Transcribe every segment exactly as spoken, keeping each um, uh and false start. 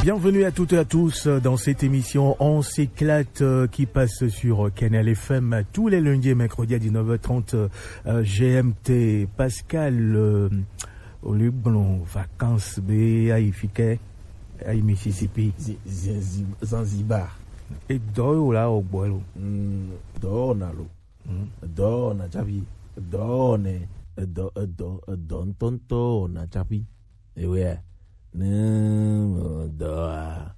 Bienvenue à toutes et à tous, euh, dans cette émission On s'éclate, euh, qui passe sur, euh, Canal F M tous les lundis et mercredis à dix-neuf heures trente, euh, G M T. Pascal, euh, au lieu de nos vacances, be, ayi fike, ayi Mississippi. Zi- zi- zi- Zanzibar. Et dehors, là, au bois, là. Hmm, dehors, on a l'eau. Hmm. Dehors, on a déjà vu. Dehors, on est, dehors, dehors, dehors, tonton, on a déjà vu. Ewe, ne dɔ a,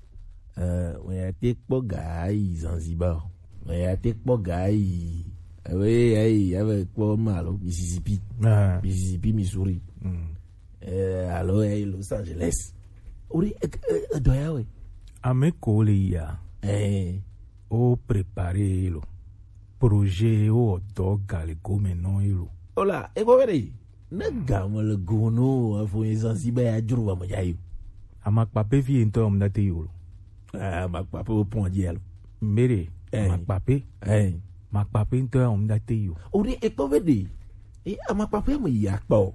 eh, me ya te kpɔ ga yi Zanzibar o. Me ya te kpɔ ga yi, ewe, ayi, ave kpɔ ma lo, Mississippi. Ah. Mississippi, Missouri. Mm. Eh, alo, eh, Los Angeles. Ori, eh, eh, eh, dɔ ya we. Ame ko le ya. Eh. O préparer lo. Projet o dɔ ga le gome nɔ lo. Ola, e ko vede. Ne game le go no, afo ezan si be ya dzro va me ya yo. Amakpa pe vi ŋutɔ ya ŋu da te yo lo. Ah, amakpa pe o pɔn dzi alo. Mbere, eh, amakpa pe. Eh. Amakpa pe ŋutɔ ya ŋu da te yo. O de e kpɔ be de. E amakpa pe me ya kpɔ.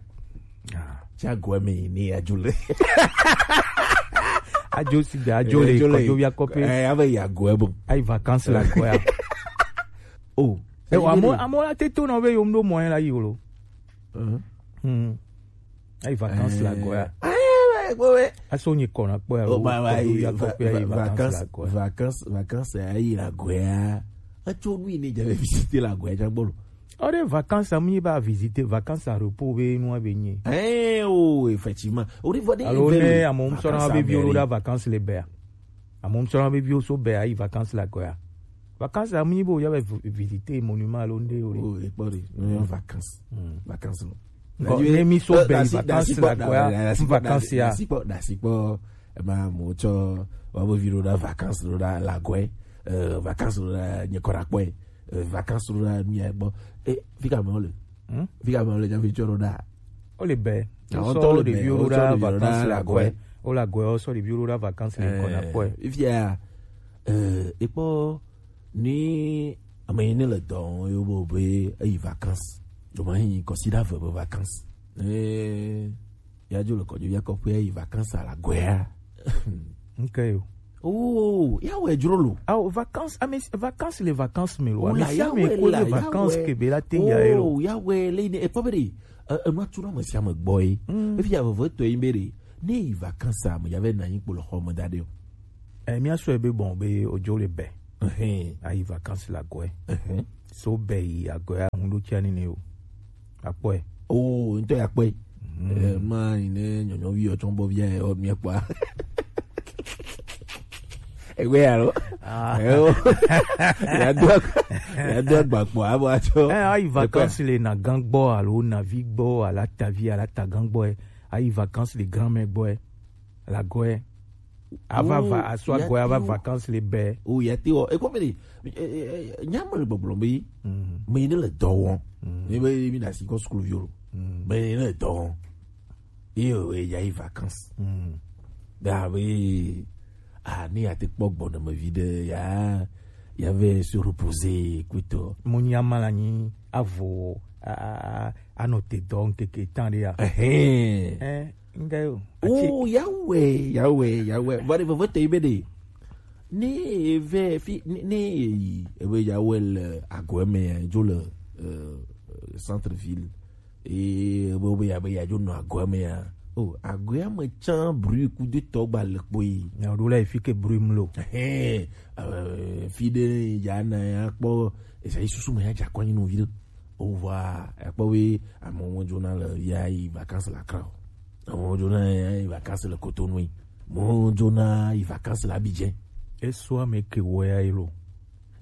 Ah. Tsa go me ni adzo le. Adzo si da, adzo le, adzo le. Kɔdzo via kɔpe. Eh, ave ya go e bon. Ayi vacances la go ya. Oh. Eh, amo, amo la te to na be yo ŋdo mɔ la yi lo. Hmm. Ayi vacances la go ya. Eh, eh, eh, eh. Aso nyi kɔna kpɔ ya. Oh, ba, ba, kɔdzo via kɔpe ayi va-, vacances la go ya. Vacances, vacances ayi la go ya. Atso nu yi ne dza visiter la go ya dza gbɔ lo. Ɔde vacances amu nyi ba visiter, vacances à repos be nu be nyi. Eh, oh, effectivement. Ɔde vɔ de. Alo ne amu sɔna be viwo da vacances le bea. Amu sɔna be viwo so bea ayi vacances la go ya. Vacances amu nyi bo ya be vi-, visiter monument alo nde o. Oh, e kpɔ de. Mm, vacances. Mm. Vacances lo. Ko ne mi so be vacances la go ya. Vacances ya. Dasi kpɔ, dasi kpɔ. E ma mo tsɔ wa bo vi lo da vacances lo da la go. Eh, vacances lo da nye kɔra kpɔ. Eh, vacances lo da mi ya gbɔ. Eh, fika me o le. Hmm? Fika me o le ja vi tsɔ lo da. O le be. Àwọn tó lè bẹ̀rẹ̀, ó sọ de bi ó sọ da de bi ó vacances da la go. Àgọ́ ẹ̀. Ó la go ẹ̀, ó sọ de bi ó da vacances le kɔna kpɔ ẹ̀. Ifia, eh, e kpɔ ni ame yi ne le dɔ wɔm yo bo be eyi vacances. Do ma yi kɔsi da ve be vacances. Eh, ya dzo le kɔdzo ya kɔƒe eyi vacances a la go ya. Nke yo. Oh, ya wɛ dzro lo. Ah, vacances, ah, mais vacances, les vacances, mais loin. Oh, mais la, si ya ame wɛ ko la, les ya vacances wɛ. Ke be la te ya lo. Oh, ya wɛ le ne e kpɔ be de. Eh, enua tu na ame sia ame gbɔ ye. Mm. Efi ya veve tɔ ye be ɖe, ne yi vacances a, me ya vɛ na anyi kpo le xɔ me da ɖe o. Eh, mía sɔe be bon be odzo le be. Ayi vacances la go. So be yi ago ya ŋu ɖo tia nene o. Akpɔe. Oh, ŋutɔ ya kpɔe. Mm. Eh, ma yi ne nyɔnyɔvi yɔ tsɔn bɔ via yɔ mía kpɔa. Ewe alo. Ah. Ewo. Ya do ag-, ya do agba kpɔ abo atsɔ. Eh, ayi vacances le na gan gbɔ alo na vi gbɔ ala ta vi ala ta gan gbɔ. Ayi vacances le grand-mère gbɔ. La go. Ava va, oh, aso ago ava vacances le be. Oh, ya te o. E ko me de. Eh, eh, eh, nya me le gbɔgblɔ be. Mm. Me ne le dɔ wɔm. Mm. Ne be mi na si ko school vi o. Mm. Me ne le dɔ wɔm. Ye o, e ya yi vacances. Mm. Da be, ah, ni ya te kpɔ gbɔ na me vi de ya, ya ve se reposer kuto. Mo nya ma la nyi avo, a, a, a, a no te dɔ nkeke tan de ya. Ehe. Eh, nga yo. Oh, ya wɛ, ya wɛ, ya wɛ. Vɔ de veve te be de. Ne eve fi, ne, ne eyi, ebe ya wɛ le ago me ya, dzo le, euh, centre-ville. Eye be, be ya, be ya dzo nɔ agoa me ya. Oh, agoa me tsã bruit kudo tɔ gba le kpo yi. Na ɖo la efi ke bruit mlo. Ehe, eh, fi ɖe ya na ya kpɔ, esa yi susu me ya dza kɔ nyi no vi ɖe. O va, ya kpɔ be amewo dzona le ya yi vacances le Accra o. Amewo dzona ya yi vacances le Cotonou. Amewo dzona yi vacances le Abidjan. Eso ame ke wɔ ya yi lo.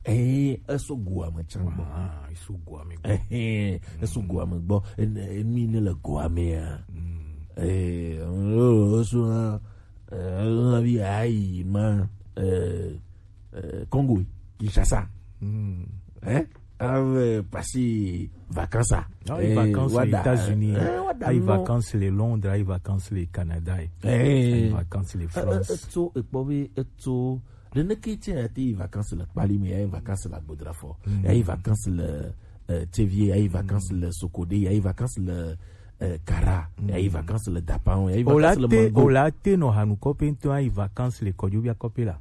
Eh, eso goa me tsã gbɔ. Ah, eso goa me gbɔ. Eh, eso goa me gbɔ. En-, enu yi ne le goa mea. Mm. Eh, eso, eh, vi ayi ma, eh, eh, Congo, Kinshasa. Mm. Eh? Ave passer vacances. Ah, eh, vacances aux États-Unis. Eh, wada, ayi non. Vacances le Londres, ayi vacances le Canada. Eh. Ayi vacances le France. Eh, eh, eto, ekpɔ be, eto, Neneke tse ya te yi vacances le Kpali me, ya yi vacances le Agbodrafɔ, mm, ya yi vacances le, eh, Tsevier, ya yi vacances, mm, le Sokode, ya yi vacances le, eh, kara, mm, ya yi vacances le dapa, ya yi vacances le mango. O la te no hanu kope nto ayi vacances le kojo bia kope la.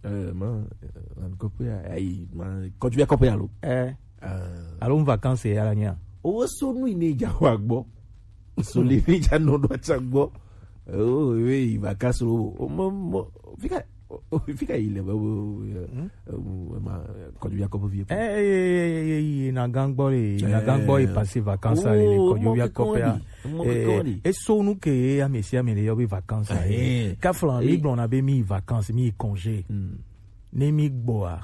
Eh, ma, eh, hanu kope ya, ya yi, ma, kojo bia kope ya lo. Eh. Eh. Alo vacances ya la nya. O so nu ine ja wa gbo. So le ni ja no do cha gbo. Oh, oui, vacances lo. O mo, mo, fika, o, o, fika ile, o, o, o, ma, kojo bia kope vie. Eh, eh, eh, eh, eh, na gangbo le, na gangbo e passer vacances le, le kojo bia kope ya. Eh, e so nu ke ya mesi amele yo be vacances. Eh. Ka flan mi gblɔ na be mi vacances, mi congé. Hmm. Ne mi gbɔa,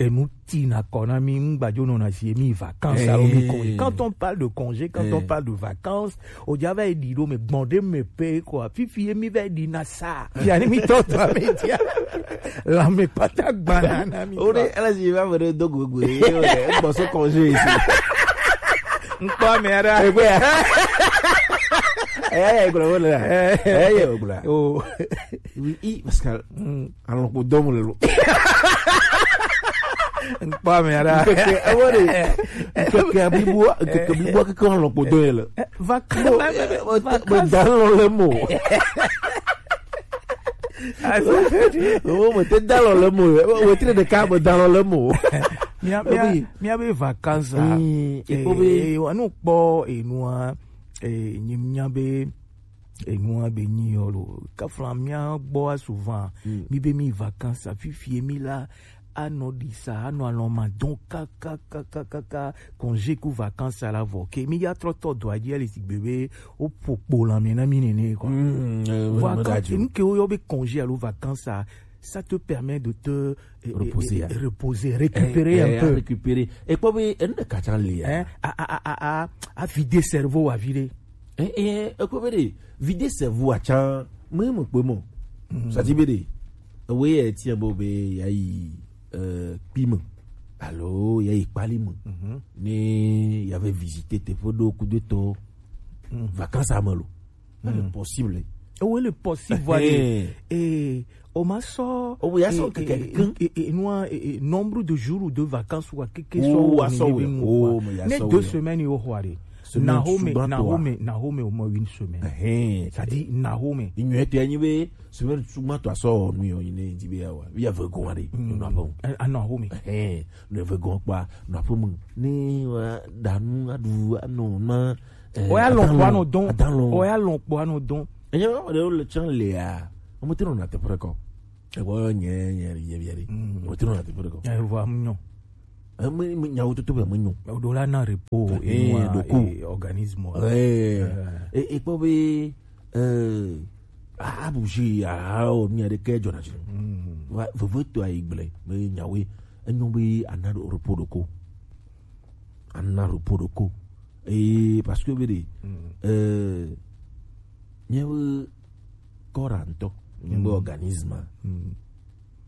enu ti na kɔ na mi, ŋgbajo nɔ na si mi vacances alo mi congé. Quand on parle de congé, quand on parle de vacances, o ja va yi ɖi ɖo me gbɔn ɖe me pe quoi. Fifi ye mi va yi ɖi na sa. Fia ni mi tɔ tɔ me dia. La me pata gbana na mi. O de ala si va me do gogo. Gbɔ so congé ici. Ŋkpɔ ame aɖe. Egbe ya. Eya ya egblɔ wole la. Eya ya egblɔ. Oh. Oui, i, parce que alɔkpo dɔm le lo. Ŋkpɔ ame aɖe. Nkeke, ewo de. Nkeke blibo, nkeke blibo keke alɔkpo dɔm le. Vacances. Me da lɔ le mo. Oh, me te da lɔ le mo. Wo tre ɖeka me da lɔ le mo. Mia, mia, mia be vacances a. Mm, eh, ekpɔ be eh, wa nu kpɔ enua, eh, nyi mia be enua be nyi yɔ lo. Kafla mia gbɔ souvent. Mm. Mi be mi vacances a fifi mi la, anɔ ɖi sa, anɔ alɔ ma dɔn ka, ka, ka, ka, ka, ka, congé ku vacances a la vɔ. Ke mi ya trɔ tɔ do aji ali sigbe be, o po kpo la mi na mi nene, quoi. Mm, eh, ouais, voilà, quand, nu ke o yɔ be congé alo vacances a, ça te permet de te, eh, eh, reposer, eh, hein. Reposer, récupérer un peu. Récupérer. Et puis, oui, un de kachan li, hein. A, a, a, a, a, a vider cerveau, a vider. Eh, eh, eh, ko bede, vider cerveau a chan, me mo pe mo. Mm. Ça dit bede. Oui, eh, tiens, bo be, ya yi, euh, kpi me. Alo, ya yi kpali me. Mhm. Ni, ya ve visiter te fo do coup de to. Mm. Vacances a me lo. Mm. Le possible. Oh, oui, le possible, voilà. Eh. Et, o ma sɔ, oh, oui, ya sɔ eh, keke eh, kin. Eh, eh, noa, eh, eh, nombre de jours ou de vacances ou quelque chose. Oh, ya sɔ, oui. Oh, mais ya sɔ, oui. Ne deux semaines, yo, hware. Semaine Nahome, suba Nahome, toi. Nahome au moins une semaine. Eh, eh. Ça dit, Nahome. Il y a été animé, semaine suba toi, sort, nous, on est dit, bien, ouais. Il y a vingt ans, allez, nous n'avons. Ah, Nahome. Eh, eh, nous avons quoi, nous avons, ni, wa, danu, adu, anu, ma, eh, o ya lɔn kpɔ anɔ dɔn. Adan lɔn. O ya lɔn kpɔ anɔ dɔn. Enye ma ɖewo le tsã lea, ame te nɔna teƒe ɖe kɔ. Egbɔ nye, nye, nye, nye, nye. Mm. Ame te nɔna teƒe ɖe kɔ. Eh, vɔa, mu nyɔ. Ame, me, nyawo toto be me nyɔ. O ɖo la na repos, eh, enua, ɖoko. Eh, organisme. Eh. Eh. E, e kpɔ be, eh, a, a bouger, a, a, o, mi aɖeke dzɔna dzi. Mm. Va, veve to ayi gblẽ, me nyawoe. Enyo be ana repos ɖoko. Ana repos ɖoko. Et parce que, be de, mm, euh, miabe corps ŋutɔ, miabe, mm, organisme, mm,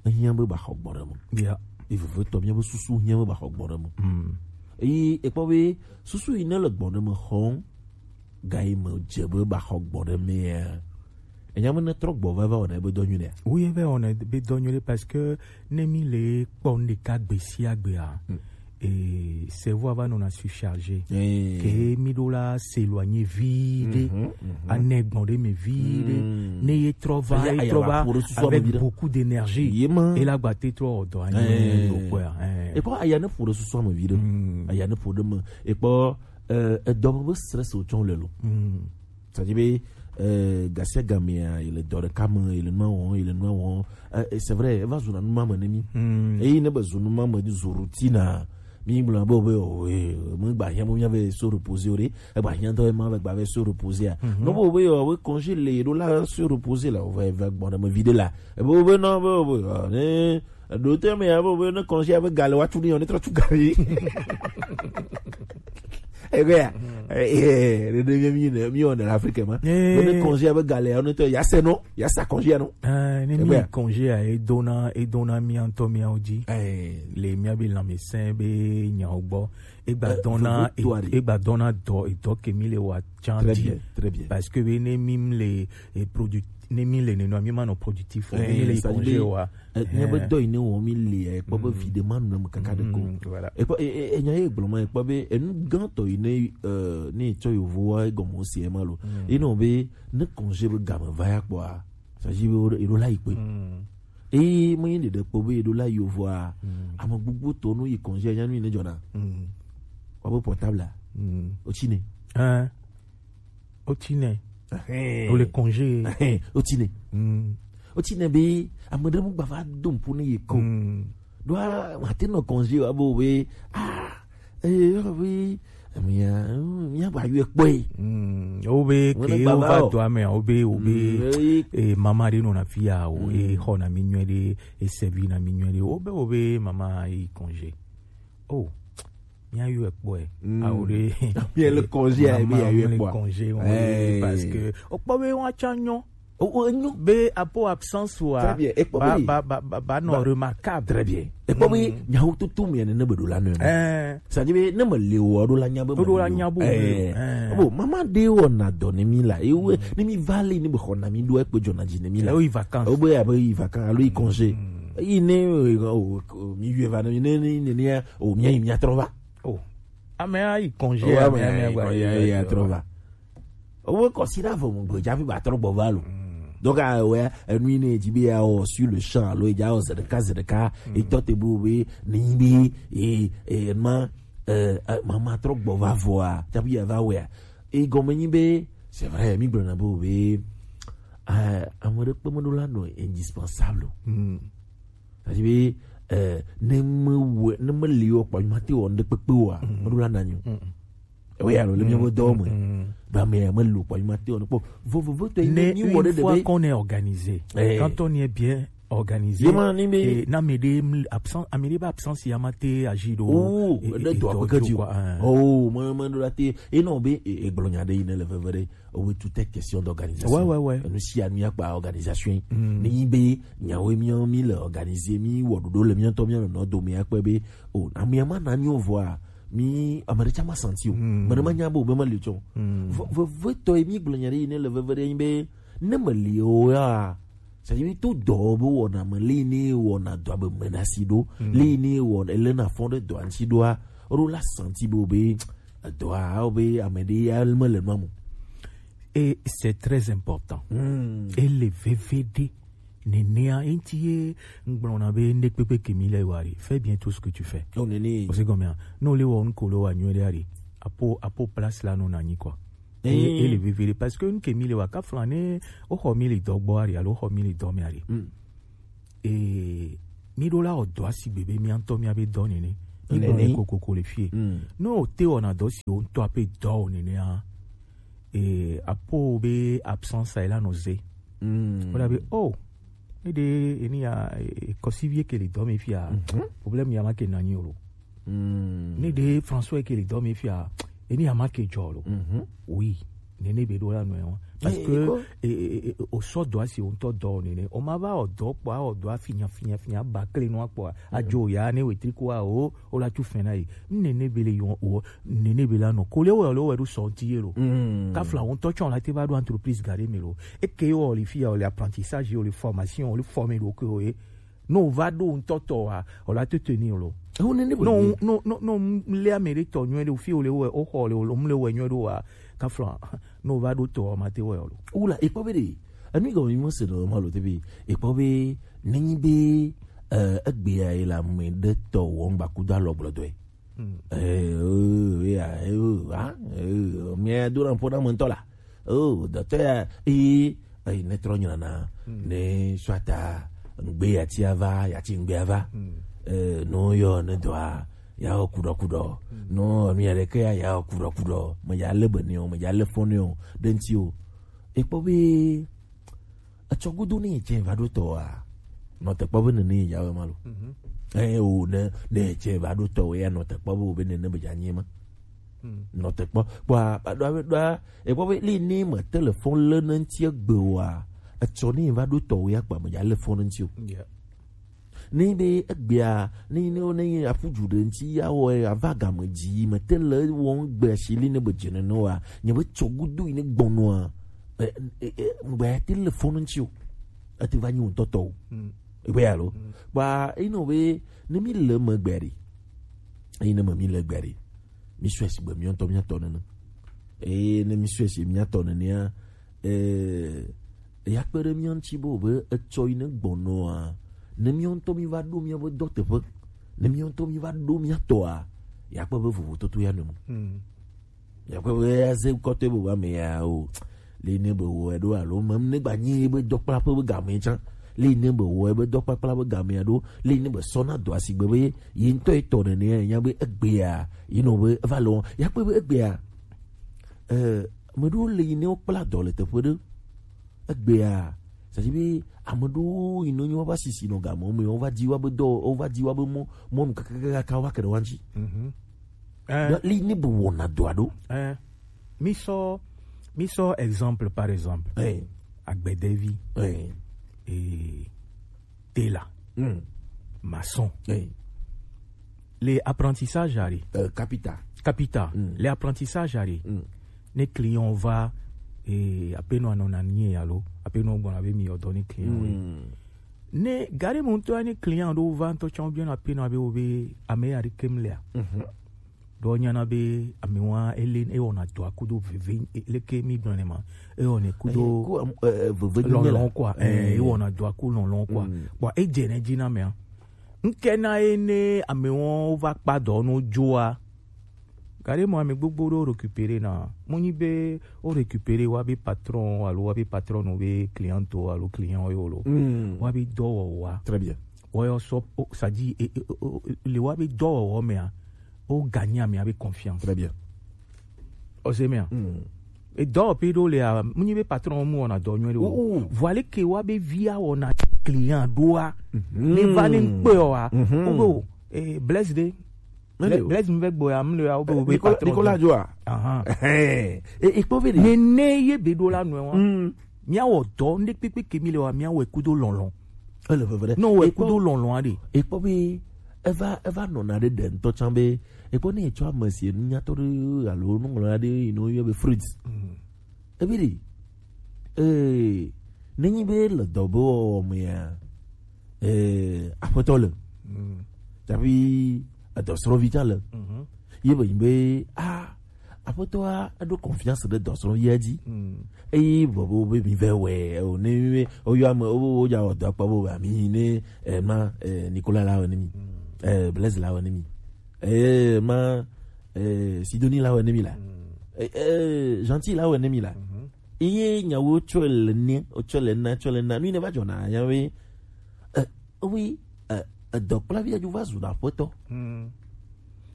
ehiã be ba xɔ gbɔ ɖe me. Yeah. Ye vevetɔ, miabe susu hiã be ba xɔ gbɔ ɖe me. Mm. Eye ekpɔ be susu yi ne le gbɔ ɖe me xɔm, ga yi me dze be ba xɔ gbɔ ɖe mea, enya me ne trɔ gbɔ va, va wɔna ebe dɔ nyuie ɖea? Oui, va wɔna ebe dɔ nyuie ɖe, parce que ne mi le kpɔ nu ɖeka gbe sia gbea, hmm, eh, cerveau va nɔna surchargé. Eh. Ke mi ɖo la s'éloigner viɖe. Mhm, mhm. Anɛ gbɔn ɖe me viɖe. Hmm. Ne ye trɔ va, ye trɔ va avec beaucoup d'énergie. Ye ma. E la gba te trɔ wɔ dɔ anyi, eh, ɖo kpɔa, eh. E kpɔ aya ne ƒo ɖe susu me viɖe. Hmm. Aya ne ƒo ɖe me. E kpɔ, eh, edɔ me be stress wotsɔ le lo. Hmm. C'est-à-dire be, euh, gasia gamea, il est dans le cam, il est noir, il est noir. Euh, et c'est vrai, il va zuna numa me nemi. Hmm. Et il ne va zuna numa me di zorutina. Mi bla bo be, oh, eh, mo gba hiã mo mi ave se reposer ore. E gba hiã to ma ave gba ave se reposer a. Mhm. No bo be, oh, we congé le do la se reposer la, o va, va gbɔ na me vide la. E bo be no, bo be, oh, ne, do te me ya bo be no congé ave gale wa tu ni, on est trop tu gale. Ebe ya, eh, eh, ɖeɖe mía mí ne, mí wɔna le Afrique ma. Eh. Be ne congé abe gale ya, ne tɔ, ya se no, ya sa congé ya no. Eh, ne mí congé ya, edona, edona mía ŋutɔ míawo dzi. Eh. Le mía be lãmesẽ be nyawo gbɔ. Egba dɔna, egba dɔna dɔ, edɔ ke mí le wa tsã dzi. Très bien, très bien. Parce que be ne mí le, eh, produit Ne mi le nenema, mi ma nɔ productif o. Ne mi le yi congé wa. Nya be dɔ yi ne wɔ mi le, ekpɔ be vi de ma nu me kaka de ko. Voilà. Ekpɔ, e, e, enya ye gblɔ ma, ekpɔ be enu gãtɔ yi ne, eh, ne tsɔ yovo wa egɔme o se ma lo. Ye nɔ be ne congé be game va ya kpɔa, ça dit be eɖo la yi kpe. Eye me yi ɖeɖe kpɔ be eɖo la yi yovoa, ame gbogbo tɔ no yi congé nya nu yi ne dzɔna. Wa be portable a. O tsi ne. Hein. O tsi ne. Ahɛn. O le congé. Ahɛn. O tsi ne. O tsi ne be ame ɖe mu gba va do ŋku ne ye ko. Ɖoa, mate nɔ congé wa be o be, ah, eh, o be, mia, mia gba yɔe kpɔe. O be ke o va do ame, o be, o be, eh, mama ɖe nɔna fi ya, o, e xɔna mi nyuie ɖe, e sɛvi na mi nyuie ɖe, o be, o be mama yi congé. Oh, mia yɔe kpɔe. Awo ɖe. Mia le congé a, mia yɔe kpɔa. Congé, parce que o kpɔ be wa tsa nyɔ. O, o, enyo. Be apo absence wa. Très bien. Ekpɔ ba, be ba, ba, ba, ba nɔ remarquable. Très bien. Ekpɔ be nyawo tutu mi ne be ɖo la nɔ. Eh. Ça dit be ne me le o ɖo la nya be. Ɖo la nya bo. Eh. Bon, mama ɖe wɔna dɔ ne mi la. Ewe ne mi va le ne be xɔna mi ɖo ekpe dzɔna dzi ne mi la. O yi vacances. O be abe yi vacances alo yi congé. Yi ne, eh, o, o, mi yɔe va ne mi ne, ne, ne, ne, o, mia yi mia trɔ va. Oh. Ame a yi congé, oh, ame a yi congé, ya trɔ va. Owo kɔsiɖa vɔ mu gbe dzafi ba trɔ gbɔ va lo. Donc, ah, ouais, enu yi ne dzi be ya o sur le champ, alo ya o zeɖeka, zeɖeka, etɔ te bu be, ni be, e, e, ma, eh, eh, mama trɔ gbɔ va vɔa, tsafi ya va wɛa. E gɔme nyi be, c'est vrai, mi gblɔna be o be, eh, ame ɖe kpe meɖo la nɔ indispensable o. C'est-à-dire be, eh, ne me wɔ, ne me li wɔ kpɔ, ma te wɔ ŋɖe kpekpe wa, meɖo la nanyo. Oui, alors, le mien dɔ me. Ba me, me lo kpɔ, ma te wɔ kpɔ. Vo, vo, vo, to, ne mi wɔ ɖe fois qu'on est organisé, quand on est bien organisé, et na me de absent, a me de ba absence ya ma te agir do. Oh, e, de e, do a do kedi quoi, hein. Oh, moi, moi, de la te. Et non, be, e, e, gblɔ nya ɖe yi ne le veve ɖe. Oui, tout est question d'organisation. Ouais, ouais, ouais. Nous si a mi akpa organisation. Ni be, nyawo mi, mi le organiser, mi wɔ ɖoɖo le mi ŋutɔ mi nɔ dome akpe be, o, ame ma na mi o vɔa, mi, ame ɖe tsa ma santi o. Me ɖe ma nya be o be ma li tsɔ. Ve, ve, ve tɔ ye mi gblɔ nya ɖe yi ne le veve ɖe yi be, ne me li o ya, c'est-à-dire to dɔ be wɔna me li ne wɔna dɔ be me na si ɖo, li ne wɔna ele na fɔ ɖe dɔ ansi ɖoa, ro la santi be o be, dɔa, o be ame ɖe ya me le nua mo. Et c'est très important. Et le V V D, nenea, enti ye, ngblɔna be, ne kpekpe ke mi le wari. Fais bien tout ce que tu fais. Oh, nene. O se gɔmea. No le wɔ nkolo wa nyuie de ari. Apo, apo place la no na nyi quoi. Et, et le V V D, parce que nke mi le wa ka flane, o xɔ mi le dɔ gbɔ ari, alo o xɔ mi le dɔ me ari. E, mi ɖo la wɔ dɔ asi gbegbe mi ŋutɔ mi abe dɔ nene. Mi ɖo nene kokoko le fie. No o te wɔna dɔ si o ŋutɔ ape dɔ o nene a. E, apo be absence a la no ze. Wala be, oh, ne de eni ya, e, kɔsi vie ke le dɔ me fia. Problème ya ma ke nanyi o lo. Ne de François ke le dɔ me fia, eni ya ma ke jɔ lo. Oui. Nene be ɖo la nɔ wa. Parce que, e, e, e, o sɔ dɔ asi o ŋutɔ dɔ nene. O ma va o dɔ kpɔ, o dɔ afinya, finya, finya, ba kle nua kpɔ. A jo ya ne wetri ko a o, o la tu fɛn na yi. Nene be le yɔ o, nene be la nɔ. Ko le o, le o, e ɖo sɔ ti ye lo. Ka fla o ŋutɔ tsɔ la te va ɖo entreprise gare me lo. E ke o le fia, o le apprentissage, o le formation, o le former ɖo ke o ye. No va ɖo ŋutɔ tɔ wa, o la tete ni lo. Ewo nene bo no, no, no, no, le ame ɖe tɔ nyuie ɖe, fi o le wɔ, o xɔ le, o le, o le wɔ nyuie ɖo wa, ka fla, no va ɖo tɔ wa, ma te wɔ lo. Wula, e kpɔ be ɖe, enu yi gɔme mi mo se no ma lo te be, e kpɔ be, nenyi be, eh, egbe ya yi la me ɖe tɔ wɔ ŋgba kudo alɔ gblɔ dɔe. Eh, oh, ya, eh, oh, ah, eh, oh, mi do na po na mo ŋutɔ la. Oh, docteur ya, eh, eh, ne trɔ nyina na, ne soit a, ŋgbe ya ti ava, ya ti ŋgbe ava. Eh, no yo ne dɔa, ya o kudɔ kudɔ. No, mi ya ɖeke ya, ya o kudɔ kudɔ. Me ya le be ne o, me ya le fɔ ne o, ɖe ŋti o. E kpɔ be, etsɔ gudo ne etsɛ va ɖo tɔ wa. Nɔ te kpɔ be nene ya wɛ ma lo. Eh, o, ne, ne etsɛ va ɖo tɔ wɛ ya nɔ te kpɔ be o be nene be dza nyi ma. Nɔ te kpɔ, kpɔ a, ɖo a, ɖo a, e kpɔ be li ni me telefon le ne ŋti egbe wa. Etsɔ ne va ɖo tɔ wɛ ya kpa me dza le fon ne ŋti o. Yeah. Ne be egbea, ne, ne, ne aƒu dzu ɖe ŋti ya wɔ, ava game dzi, me te le wɔm gbe asi li ne be dze nene wa. Nye be tsɔ gudo yi ne gbɔnɔa. Ŋgbɛ ya te le fɔn ŋuti o, ete va nyi ŋutɔtɔ o. Egbe ya lo. Ba eno be ne mi le me gbe ɖi, eyi ne me mi le gbe ɖi, mi sɔe si gbe miɔntɔ miatɔ nene. Eye ne mi sɔe si miatɔ nenea, eh, ya kpe ɖe mia ŋuti be o be etsɔ yi ne gbɔnɔa, ne miɔntɔ mi va ɖo mia be dɔ teƒe, ne miɔntɔ mi va ɖo mia tɔa, ya kpe be vovototo ya nɔ mo. Yakpɔ be aze kɔtɔe be wa me ya o. Le ne be wɔ ɖo alo mem ne gba nyi be dɔkplaƒe be game tsã. Le ne be wɔ be dɔkpakpla be game ɖo. Le ne be sɔ na dɔ asigbe be ye ŋutɔ etɔ nene ya nya be egbea yi nɔ be eva lɔ. Yakpɔ be egbea, eh, ame ɖewo le yi ne wokpla dɔ le teƒe ɖe. Egbea, c'est-à-dire be ame ɖewo yi nɔ nyi woƒe asisi nɔ game me, wova di woƒe dɔ, wova di woƒe mɔ, mɔnu kakakaka, wova ke ɖe wa ŋuti. Eh, Li ne be wɔna dɔa ɖo. Eh, mi sɔ, mi sɔ exemple par exemple. Eh, Agbedevi. Eh, Et tailor, hmm, Maçon. Eh, Les apprentissages are. Euh, capita. Capita. Hmm. Les apprentissages are. Hmm. Ne client va, et apenaŭ anɔ na nie alo apenaŭ gbɔna be mi ɔdɔ ne client. Hmm. Ne gare mo to ne client do va to chan bien apenaŭ be o be ame ya de kem lea. Mhm. Do nyana be ame wa ele e ona to akudo veve leke mi gbɔna ma. E ona kudo veve lɔlɔn quoi. Eh, e ona to aku lɔlɔn quoi. Bon, e je ne dzi na me. Nke na ye ne ame wɔn va kpa dɔ no dzoa. Gare mo ame gbogbo ɖo récupérer na. Mo nyi be o récupérer wa be patron alo wa be patron no be client o alo client yo lo. Wa be dɔwɔwɔa. Très bien. Wɔyɔ sɔ, c'est-à-dire, le wa be dɔwɔwɔ mea, o gagner amea be confiance. Très bien. O se mea. E dɔwɔƒe ɖo lea, mu nyi be patron mu wɔna dɔ nyuie ɖo. Vɔ ale ke wa be via wɔna client ɖoa. Ne va ne ŋkpe wa. O be o, eh, Blaise de. Blaise mu vɛ gbɔ ya, mu le ya, o be o be patron. Nicolas Joa. Ahan. Eh, e kpɔ be de. Ne ne ye be ɖo la nɔe wa. Mia wɔ dɔ, ne kpekpe ke mi le wa, mia wɔ kudo lɔlɔn. Ele veve ɖe. No wɔ kudo lɔlɔn aɖe. E kpɔ be eva, eva nɔna ɖe ɖe ŋutɔ tsã be, e kpɔ ne etsɔ ame si nu nyatɔ ɖe alo nuŋlɔ aɖe yi no yɔ be Fritz. Ebi ɖi, eh, nenyi be le dɔ be wɔwɔ mea, eh, aƒetɔ le. Tsaƒi edɔsrɔ̃vi tsã le. Ye be nyi be, ah, aƒetɔa eɖo confiance ɖe dɔsrɔ̃via dzi. Eye vɔvɔ be mi vɛ wɛ o, ne mi o yɔ ame o, o dza wɔ dɔ akpa bo ba mi ne, eh, ma, eh, Nicolas la wɔ ne mi. Eh, Blaise la wɔ ne mi. Eh, ma, eh, Sidonie la wɔ ne mi la. Eh, eh, Gentil la wɔ ne mi la. Eye nyawo tsɔ le ne, tsɔ le na, tsɔ le na. Nu yi ne va dzɔna, nya we, eh, oui, eh, edɔkplavi dzo va zu na aƒetɔ.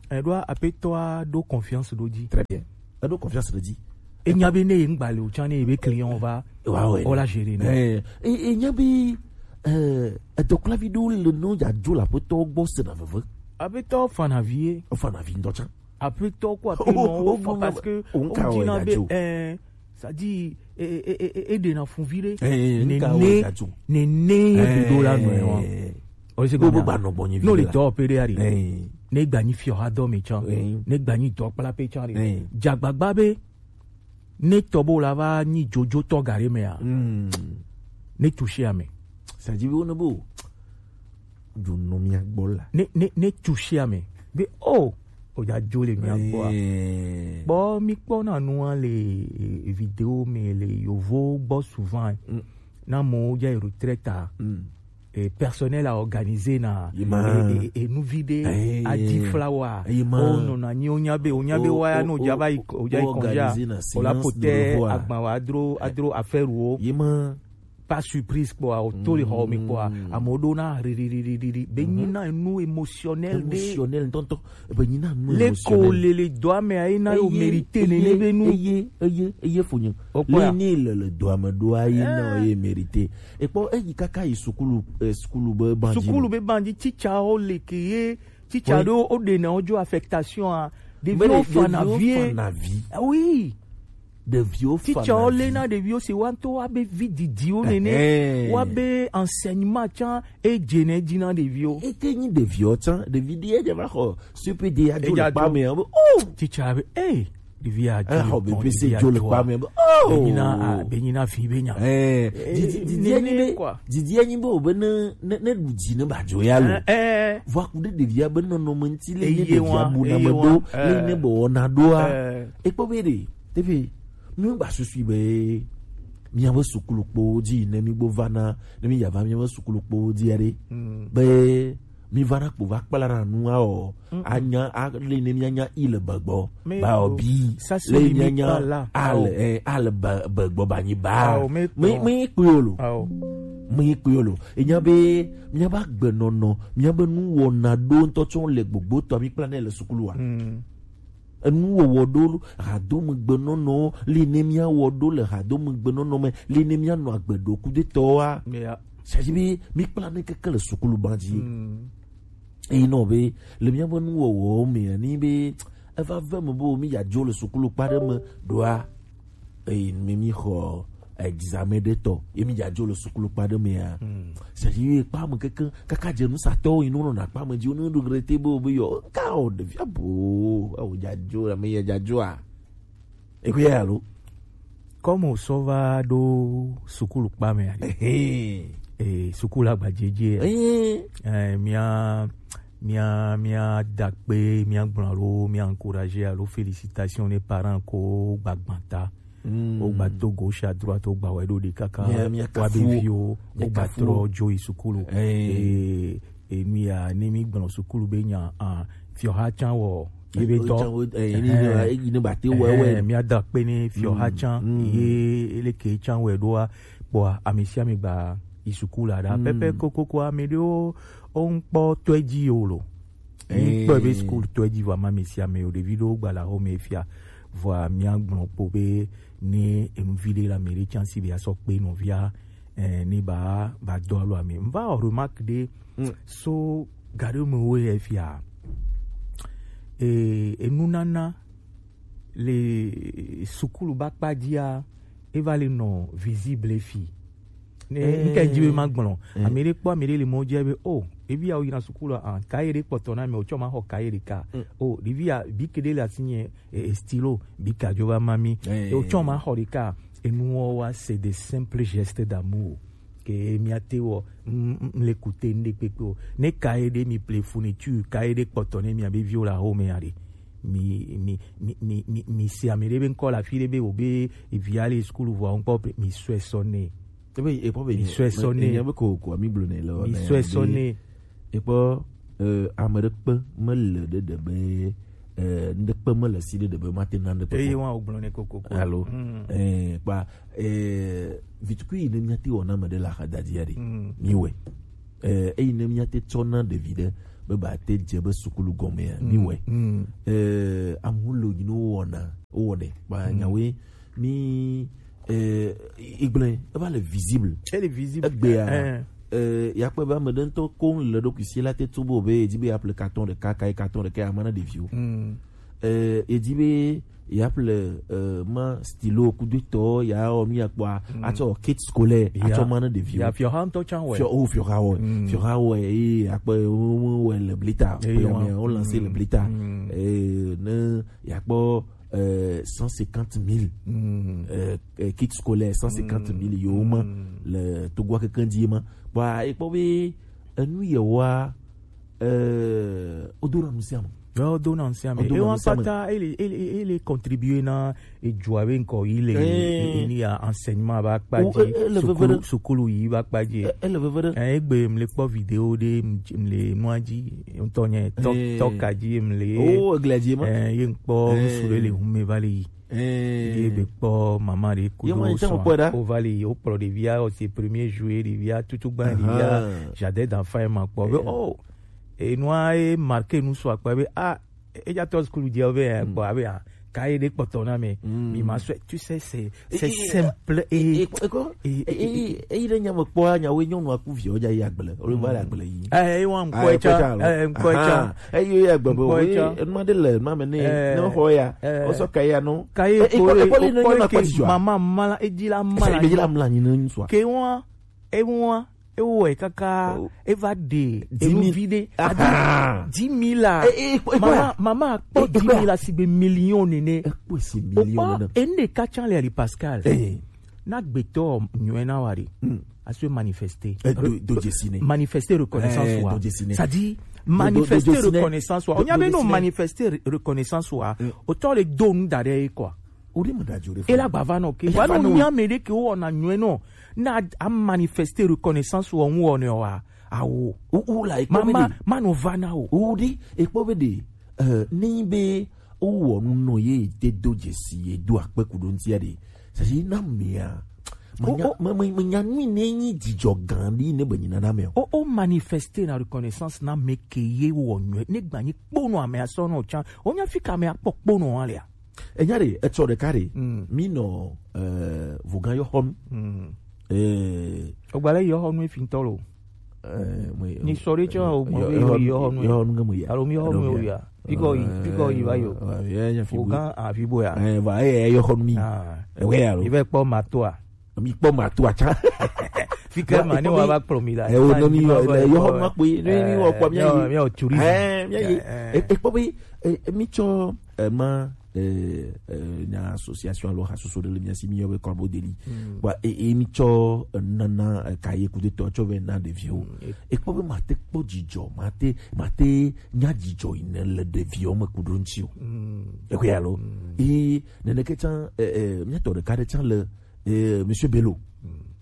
Eɖoa aƒetɔa ɖo confiance ɖo dzi. Très bien. Eɖo confiance ɖe dzi. Enya be ne ye ŋgba le o tsã ne ye be client va. Wa wɛ. O la gérer ne. Eh, e, enya be, eh, edɔkplavi ɖo le no dza dzo le aƒetɔ gbɔ se na veve. Aƒetɔ fana vie. O fana vi ŋutɔ tsã. Aƒetɔ ko aƒenɔ wo fa parce que o ŋka o dina be, eh, c'est-à-dire, e, e, e, e, e ɖena fun vi ɖe. Eh, ŋka o dza dzo. Nene ye be ɖo la nɔe wa. O se gbogbo gba nɔ gbɔnyi vi. No le dɔ pe ɖe ari. Ne gba nyi fiɔ ha dɔ mi tsã. Ne gba nyi dɔ kpla pe tsã ɖe. Dzagbagba be ne tɔ bo la va nyi dzodzo tɔ gare mea. Ne toucher ame. C'est-à-dire wo ne bo dzo nɔ mia gbɔ la. Ne, ne, ne toucher ame. Be o, o dza dzo le mia gbɔ. Kpɔ mi kpɔ na nua le, eh, vidéo me le yovo gbɔ souvent. Na mo dza retraite a. Eh, personnel a organisé na, eh, eh, eh, nu vi ɖe, adi flawa, o nɔna nyi o nya be, o nya be wa ya no dza va yi, o dza yi congé a, o la pote agba wa adro, adro affaire wo. Pas surprise kpɔa, o to le xɔ me kpɔa, amewo ɖo na ririririri be nyi na nu émotionnel ɖe. Émotionnel ŋutɔŋutɔ. Be nyi na nu émotionnel. Le ko le le dɔa me ayi na yo mérité ne ne be nu. Eye, eye, eye fonyo. Le ni le le dɔa me ɖo ayi na ye mérité. Ekpɔ eyi kaka yi sukulu, eh, sukulu be bandzi. Sukulu be bandzi, teacher o le ke ye, teacher ɖo o ɖe na o dzo affectation a. Ɖeviwo fana vie. Ah oui. Ɖeviwo fana vie. Teacher o le na ɖeviwo si wa ŋutɔ wa be vi didiwo nene. Wa be enseignement tsã e dze ne dzi na ɖeviwo. Ete nyi ɖeviwo tsã, ɖevi ɖe edze va xɔ C P D adzo le kpa me, o. Teacher be, eh, Ɖevi a dzo. Eh, xɔ bebe se dzo le kpa me be, oh. Be nyina, ah, be nyina fi be nya. Eh, didi, didi enyi be, didi enyi be o be ne, ne, ne ɖu dzi ne ba dzo ya lo. Eh, eh. Vɔ aku ɖe ɖevia be nɔnɔme ŋuti le ne ɖevia buna me ɖo, le ne be wɔna ɖoa. Eh. Ekpɔ be ɖe, teƒe, mi gba susui be, miabe sukulu kpo dzi ne mi gbo va na, ne mi ya va miabe sukulu kpo dzi ya ɖe. Mm. Be, mi va na kpo va kpla na nua o. Mm-mm. Anya, a, le ne mianya i le begbɔ. Ba o bi, le mianya a le, eh, a le be-, begbɔ ba nyi ba. Me, me kpui o lo. Me kpui o lo. Enya be, miabe agbenɔnɔ, miabe nuwɔna ɖo ŋutɔ tsɔ le gbogbo tɔ mi kpla ne le sukulu wa. Mm. Enuwɔwɔ ɖo, hadomegbenɔnɔ, li ne míawɔ ɖo le hadomegbenɔnɔ me, li ne míanɔ agbe ɖo kudetɔwoa. Yeah. C'est-à-dire be, mi kpla ne keke le sukulu ba dzi. Mm. Eyi nɔ be, le míabe nuwɔwɔwo mea, ni be, eva ve me be, mi ya dzo le sukulu kpa ɖe me ɖoa, eyi mi, mi xɔ examen ɖe tɔ, ye mi dza dzo le sukulu kpa ɖe mea. Hmm. C'est-à-dire, ye kpa me keke, kaka dze nusatɔwo yi nɔ na kpa me dzi, wo ne regretter be, wo be yɔ, ka o, ɖevia bo, awo dza dzo, ame ye dza dzoa. Ekwe ya lo. Comme o sɔ va ɖo sukulu kpa mea. Ehe. Eh, sukulu agbadzedze. Ehe. Eh, mia, mia, mia da kpe, mia gblɔ alo, mia encourager alo félicitations ne parents ko gbagbata. Mm. Wo gba to gauche à droite, wo gba wɛ ɖo ɖi kaka. Mia, mia wa be kafu wo, viwo, mia wo gba kafu trɔ wo. Dzo yi sukulu. Eh. Eh, eh, mia, ne mi gblɔ sukulu be nya, ah, fiɔha can wɔ, ye be tɔ. Can wɔ, eh, ni ne, eh, ni ne ba te wɛ, eh, wɛ. Mia da kpe ne fiɔha can, mm, ye eleke can wɛ ɖoa, kpɔa, ame sia ame gba yi sukulu la ɖa. Mm. Pɛpɛ kokoko ame ɖewo, wo ŋkpɔ tɔe dzi yo lo. Ŋkpɔ be sukulu tɔe dzi vɔ ama ame sia ame yo. Ɖevi ɖewo gba le axome fia. Vɔa mia gblɔ kpo be ne enuvi ɖe le ame ɖe can si be asɔ kpe nɔvia, eh, ne ba, ba do alo ame. Mva wɔ remarque ɖe, mm, so ga ɖe me wo ye fia. Eh, enunana le sukulu ba kpa dzia, eva le nɔ visible fi. Ne, eh, ŋke dzi be ma gblɔ. Eh. Ame ɖe kpɔ ame ɖe le mɔ dzi be, oh, ɖevi ya wo yina sukulu a, ah, kaye ɖe kpɔtɔ na me, o tsɔ ma xɔ kaye ɖeka. Mm. Oh, ɖevi ya, bic ɖe le asi nye, eh, eh, stylo, bic a dzo va ma mi. Eh. O tsɔ ma xɔ ɖeka. Enuwo wa, c'est des simples gestes d'amour. Ke mia te wɔ, m, m, m le kute ŋɖe kpekpe o. Ne kaye ɖe mi ple fourniture, kaye ɖe kpɔtɔ ne mia be viwo le axome ya ɖe. Mi, mi, mi, mi, mi, mi se ame ɖe be ŋkɔ le afi ɖe be wo be evia le sukulu vɔa ŋkpɔ ple, mi sɔe sɔ nɛ. Ebe, ekpɔ be mi sɔe sɔ nɛ. Enya be ko, ko mi gblɔ nɛ le. Mi sɔe sɔ nɛ. Ekpɔ, eh, ame ɖe kpe mele ɖe ɖe be, eh, ŋɖe kpe mele si ɖe ɖe be mate na ŋɖe kpe. Eye wa wo gblɔ nɛ kokoko. Alo, mm, eh, kpa, eh, vitukui yi ne mia te wɔ na ame ɖe le axadadi ya ɖe. Mm. Mi wɛ. Eh, eyi ne mia te tsɔ na ɖevi ɖe be ba te dze be sukulu gɔmea, mi wɛ. Mm. Eh, amu lo yi no wɔna, wo wɔ ɖe. Ba, mm, nyawe, mi, eh, igblẽ, eva le visible. Elle est visible. Egbea, eh, eh, ya kpɔ be ame ɖe ŋutɔ koŋ le ɖokui si la te tu bo be, edi be ya ple carton ɖeka, kayi carton ɖeka ya ma na ɖeviwo. Mm. Eh, edi be ya ƒle, eh, ma stylo kudo tɔ, ya wɔ nu ya kpɔa, mm, atsɔ kit scolaire, ya, atsɔ ma ne ɖeviwo. Ya fiɔha ŋutɔ tsã wɛ. Fiɔ-, oh, fiɔha wɛ. Mm. Fiɔha wɛ, eye akpe, wo, wo wɛ le blita. Eye pe wa. Ame, wo lancer le blita. Mm. Eh, ne ya kpɔ, eh, cent cinquante mille. Mm. Eh, eh, kit scolaire, cent cinquante mille, mm, yo ma, mm, le Togoa keke dzi ma. Kpɔa, ekpɔ be, enu ye wa, eh, o do na nu sia nu. Wo do na ŋusẽ ame. Wo do na ŋusẽ ame. Ewa kpata, ele, ele, ele contribuer na edzoa be ŋkɔ yi le, eh, e, e, ni ya enseignement ba kpa dzi, e, ele veve ɖe. Sukulu, sukulu yi ba kpa dzi. E, ele veve ɖe. Eh, egbe mle kpɔ vidéo ɖe, m-, mle nua dzi, ŋutɔ nye, tɔ, eh, tɔ ka dzi mle. Oh, eglia dzi ma. Eh, ye ŋkpɔ, eh, ŋsu ɖe le hume va le yi. Eh. Ye be kpɔ mama ɖe kudo sɔa. Ye ma ŋutɔ kpɔ ɖa. Wo va le yi, wo kplɔ ɖevia, o se premier jour ɖevia, tutu gba ɖevia, aha, jardin d'enfant ma kpɔ. Be, eh, oh, enua e marqué nu sɔ akpa be, ah, eja tɔ sukulu dzi be, eh, mm, kpɔ abe, ah, kaye ɖe kpɔtɔ na me, mm, mi ma sɔe, tu sais, c'est, c'est simple et, et, et, et, et, eyi ɖe nya me kpɔa, nyawo nyɔnua ku viwo dza yi agble, wo va le agble yi. Eh, ewa ŋkɔ etsa, eh, ŋkɔ etsa. Eyi ya gbe be, ŋkɔ etsa. Enuma ɖe le enuma me ne, eh, ne xɔ ya, eh, o sɔ kaye ya no. Kaye eh, ko, eh, ko, eh, le ko, ne ko, nyɔnua ke kpɔ dzidzɔa. Mama mala, edzi la mala. Edzi la mala nyi ne ŋsua. Ke wa, ewa, Ewɔe kaka, eva ɖe enuvi ɖe. Dix mille. Dix mille la. Mama, mama kpɔ dix mille la sigbe million nene. Ekpɔ si million nene. Ene ka can le ali Pascal. Na gbetɔ nyɔɛ na wa ɖe. Aso manifester. Do, do dzesi ne. Manifester reconnaissance wa. C'est-à-dire manifester reconnaissance wa. Onya be no manifester reconnaissance wa. Otɔ le do nu da ɖe quoi. Ela gbava nɔ ke. Wa no nya me ɖe ke wo na nyɔɛ nɔ. Na a manifester reconnaissance wa ŋu ne wa. Awo. Mama, manu va na o. Udi, ekpɔ be de. Ni be wowɔ nu nɔ ye de do dzesi ye do akpe ku ɖo ŋutia ɖe. Sasi na mea. Menya nui ne nyi dzidzɔ gã ɖi ne be nyina na me o. O manifester na reconnaissance na me ke ye wɔ nyɔɛ ne gba nyi kponu ame asɔ nɔ can. O nya fi ka me akpɔ kponu alea. Enya ɖe etsɔ ɖeka ɖe. Mi nɔ vogan yɔ xɔnu. Ogbalɛ yɔ xɔnu efi ŋtɔ lo. Ni sɔ ɖe tsɔ o mɔ be yɔ xɔnu yɔ xɔnu ke mo ya. Alo mi yɔ xɔnu yɔ ya. Pikɔ yi, pikɔ yi va yɔ. Ogan afi bo ya. Va ye yɔ xɔnu mi. Ewe ya lo. Ive kpɔ ma to a. Mi kpɔ ma to a tsa. Fika ma ni wa va kplɔ mi la. Ewo no mi yɔ yɔ xɔnu ma kpɔ yi. Ne mi wɔ kpɔ mi ya yi. Mi yɔ tourisme. Mi ya yi. Ekpɔ be mi tsɔ ma eh, eh, na association alo hasoso ɖe le mia si mi yɔ be Corbeau de Lit. Wa e, e mi tsɔ eh, nana eh, kaye kudo tɔ tsɔ ve na ɖeviwo. E kpɔ be mate kpɔ dzidzɔ, mate mate nya dzidzɔ yi ne le ɖeviwo me ku ɖo ŋuti o. E ko ya lo. E nene ke tsan eh, eh, mia tɔ ɖeka ɖe tsan le eh, Monsieur Bello.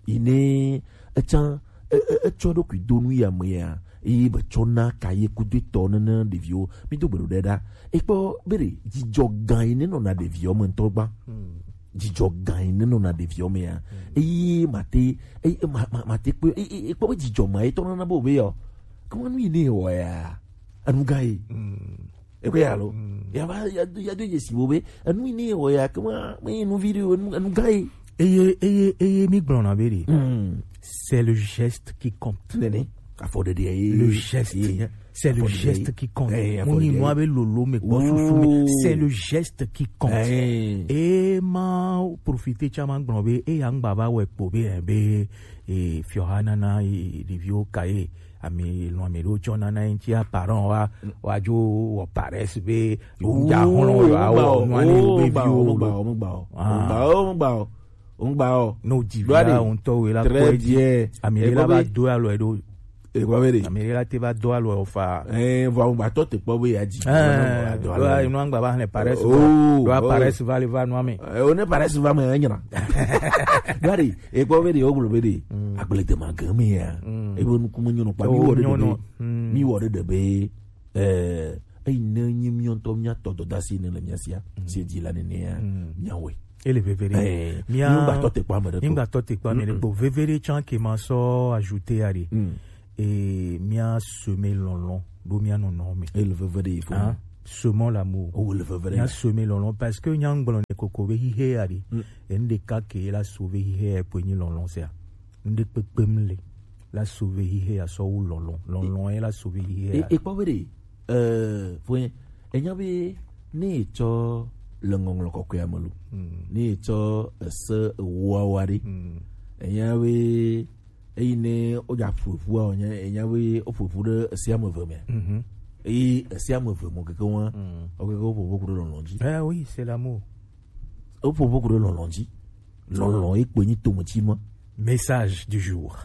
Yi ne etsan etsɔ ɖokui do nu ya me ya eye be tsɔ na kaye kudo tɔ nene ɖeviwo mi do gbeɖo ɖe ɖa. Ekpɔ be ɖe dzidzɔ gã yi ne nɔna ɖeviwo me ŋutɔ gba. Dzidzɔ gã yi ne nɔna ɖeviwo me ya eye mate eye ma- ma- mate kpe eye ekpɔ be dzidzɔ ma etɔ nana be o be yɔ kema nu yi ne wɔ ya enu gã yi. Ekwe ya lo. Ya va ya do ya do yesi wo be enu yi ne wɔ ya kema me nu video enu enu gai. Eye eye eye mi gblɔna be ɖe. C'est le geste qui compte. Nene. Afɔ ɖeɖe ye. Le geste. C'est le geste qui compte. Mo nyi nua be lolo me gbɔ susu me. C'est le geste qui compte. E ma profiter tsa ma gblɔ be e ya ŋgba va wɛ kpo be eh, be eh, fiɔha nana eh, ɖeviwo ka ye. Ami lɔn mi ɖo tsɔ nana ŋuti a parent wa wa dzo wɔ paresse be ŋdza hlɔn yɔ awɔ nua ne yewo be viwo lo. Ŋgba o ŋgba o ŋgba o. Ne o dzi vi la ŋutɔ wo la kpɔ edzi ami ɖe la va do alɔ ɖo. Ekpɔ be de ami ɖe la te va do alɔ fa. Ɛɛ vɔ ŋgba tɔ te kpɔ be ya dzi. Ɛɛ do alɔ ŋgba va hlɛ paresse. Do paresse va le va nua me. O ne paresse va me enyina. Do a de ekpɔ be de o gblɔ be de agble de ma gã me ya. Ebe nukume nyɔnɔ kpa mi wɔ ɖe ɖe be mi wɔ ɖe ɖe be eh eyi ne nyi mi ŋutɔ mia tɔ dɔdasi ne le mia sia si dzi la nene ya mia wɛ. Ele veve ɖe. Eh, mia mi ŋgba tɔ te kpa me ɖe mi ŋgba tɔ te kpa me ɖe kpo veve ɖe tsã ke ma sɔ ajouter ya ɖe. Eh mia semer lɔlɔ̃ ɖo mia nɔnɔ me. Ele veve ɖe ifo. Semons l'amour. O le veve ɖe. Mia semer lɔlɔ̃ parce que nya ŋgblɔ ne koko be hihe ya ɖe. Enu ɖeka ke la sauver hihe ya kpoe nyi lɔlɔ̃ sia. Ŋɖe kpekpem le la sauver hihe ya sɔ wu lɔlɔ̃ lɔlɔ̃ ye la sauver hihe ya. Ekpɔ be ɖe eh fue enya be ne etsɔ le ŋɔŋlɔ kɔkɔe me lo ne etsɔ ese ewoawa ɖe enya be eyi ne wodza ƒoƒua wònye enya be woƒoƒu ɖe ese ame eve me eyi ese ame eve mɔ keke wa wokeke woƒoƒu ku ɖe lɔlɔ̃ dzi. Eh oui, c'est l'amour. Woƒoƒo ku ɖe lɔlɔ̃ dzi. Lɔlɔ̃ ye kpoe nyi tometsinua. Message du jour.